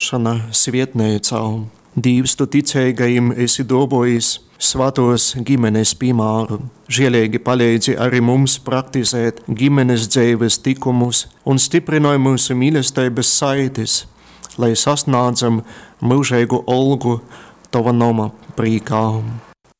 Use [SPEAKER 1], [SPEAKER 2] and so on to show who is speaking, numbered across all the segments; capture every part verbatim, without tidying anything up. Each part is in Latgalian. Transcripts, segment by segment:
[SPEAKER 1] īkopšona svietneicā. Dīvs, tu ticeigajim esi duovuojis svātuos gimenes pīmāru. Žieleigi paleidzi arī mums praktizēt gimenes dzeives tikumus un stiprynoj myusu mīlesteibys saitis, lai sasnādzam myužeigu olgu Tova noma prīkā.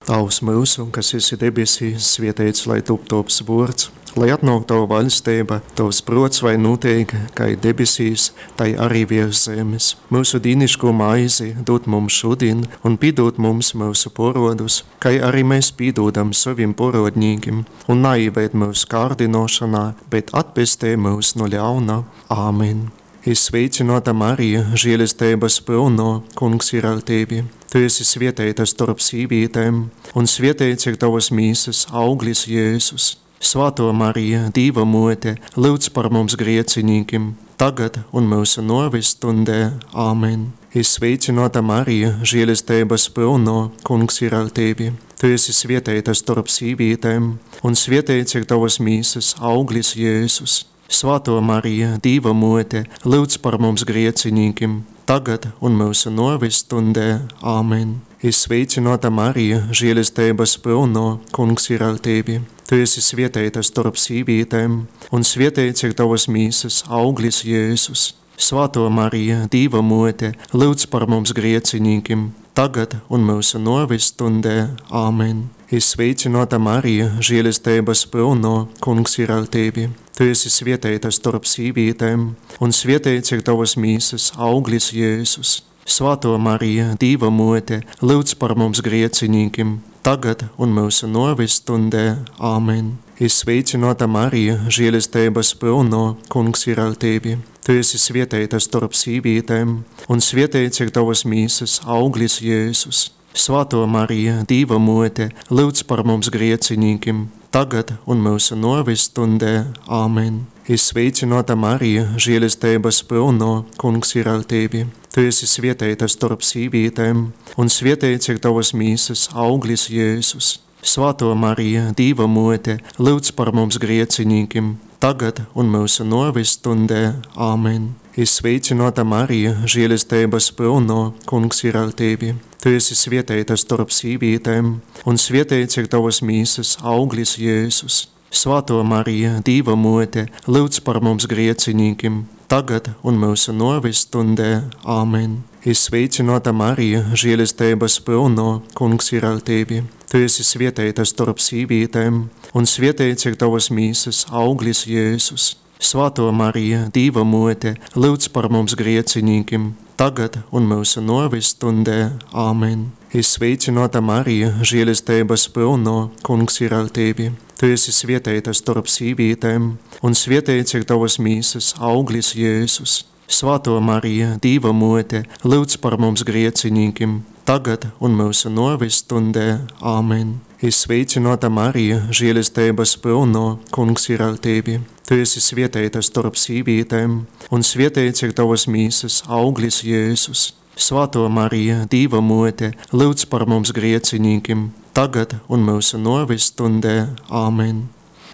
[SPEAKER 1] Tavs myusu, kas esi debesīs, svieteits lai tup tovs vuords, lai atnōk tova vaļsteiba, tovs pruots vai nūteik, kai debesīs, tai arī viers zemes. Myusu dīniškū maizi dod mums šodien un pīdod mums myusu porodus, kai arī mēs pīdodam sovim porodnīkim, un naīved myusu kārdinošanā, bet atpestej myus no ļauna. Āmen. Es sveicināta Marija, žēlestības pilno, Kungs ir ar tevi. Tu esi svētīta starp sīvītēm, un svētīts ir tavas mīsas auglis Jēzus. Svētā Marija, Dieva mote, lūdz par mums grēciniekiem, tagad un mūsu nāves stundē. Āmen. Es sveicināta Marija, žēlestības pilno, Kungs ir ar tevi. Tu esi svētīta starp sīvītēm, un svētīts ir tavas mīsas auglis Jēzus. Svētā Marija, Dieva mote, lūdz par mums grēciniekiem, tagad un mūsu nāves stundē. Āmen. Es sveicināta Marija, žēlestības pilno, Kungs ir ar tevi. Tu esi svētīta starp sīvītēm, un svētīts ir tavas mīsas auglis Jēzus. Svētā Marija, Dieva mote, lūdz par mums grēciniekiem, tagad un mūsu nāves stundē. Āmen. Es sveicināta Marija, žēlestības pilno, Kungs ir ar tevi. Tu esi svētīta starp sīvītēm, un svētīts ir tavas mīsas auglis Jēzus. Svētā Marija, Dieva mote, lūdz par mums grēciniekiem, tagad un mūsu nāves stundē. Āmen. Es sveicināta Marija, žēlestības pilno, Kungs ir ar tevi. Tu esi svētīta starp sīvītēm, un svētīts ir tavas mīsas auglis Jēzus. Svētā Marija, Dieva mote, lūdz par mums grēciniekiem, tagad un mūsu nāves stundē. Āmen. Es sveicināta Marija, žēlestības pilno, Kungs ir ar tevi. Tu esi svētīta starp sīvītēm, un svētīts ir tavas mīsas auglis Jēzus. Svētā Marija, Dieva mote, lūdz par mums grēciniekiem, tagad un mūsu nāves stundē. Āmen. Es sveicināta Marija, žēlestības pilno, Kungs ir ar tevi. Tu esi svētīta starp sīvītēm, un svētīts ir tavas mīsas auglis Jēzus. Svētā Marija, Dieva mote, lūdz par mums grēciniekiem, tagad un mūsu nāves stundē. Āmen. Es sveicināta Marija, žēlestības pilno, Kungs ir ar tevi. Tu esi svētīta starp sīvītēm, un svētīts ir tavas mīsas auglis Jēzus. Svētā Marija, Dieva mote, lūdz par mums grēciniekiem, tagad un mūsu nāves stundē. Āmen. Es sveicināta Marija, žēlestības pilno, Kungs ir ar tevi. Tu esi svētīta starp sīvītēm, un svētīts ir tavas mīsas auglis Jēzus. Svētā Marija, Dieva mote, lūdz par mums grēciniekiem, tagad un mūsu nāves stundē. Āmen. Es sveicināta Marija, žēlestības pilno, Kungs ir ar tevi. Tu esi svētīta starp sīvītēm, un svētīts ir tavas mīsas auglis Jēzus. Svētā Marija, Dieva mote, lūdz par mums grēciniekiem, tagad un mūsu nāves stundē. Āmen.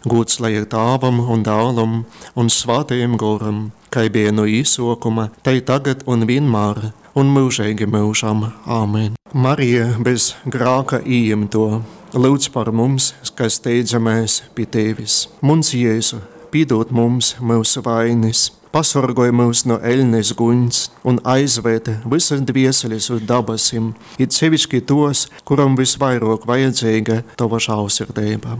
[SPEAKER 1] Gods lai ir Tēvam un Dēlam un Svētajam Goram, kā bija no īsokuma, tai tagad un vienmēr, un mūžīgi mūžam. Āmen. Marija bez grāka ījimto, lūdz par mums, kas steidzamies pie tevis. Muns Jēzu, pīdod mums mūsu vainas, pasargoj mūs no eļnes guņs un aizved visas dvieseles uz dabasim, it sevišķi tos, kuram visvairāk vajadzīga tava žēlsirdība.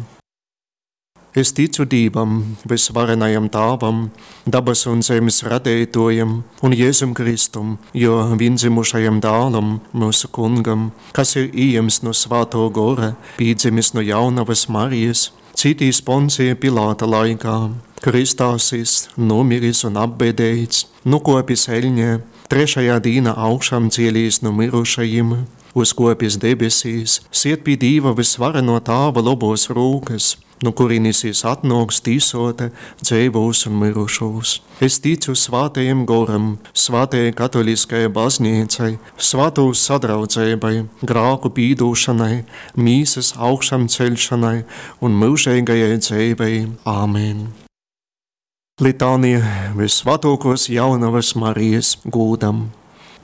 [SPEAKER 1] Es ticu Dievam, visvarenajam Tēvam, dabas un zemes radītājam un Jēzum Kristum, jo viendzimušajam dēlam, mūsu kungam, kas ir iejims no Svēto Gora, piedzimis no jaunavas Marijas, citīs Poncija Pilāta laikā, kristā sists, nomiris un apbēdēts, nukopis eļņē, trešajā dīnā augšām cielīs no mirušajiem, uzkopis debesīs, siet pie Dieva visvareno Tēva lobos rūkas, no kurienes jis atnāks tīsota dzīvos un mirušos. Es ticu svētajam goram, svētajai katoliskajai baznīcai, svētos sadraudzībai, grāku pīdūšanai, mīsas augšām ceļšanai un mūžīgajai dzīvei. Āmen. Litānija visvētākos jaunavas Marijas gūdam.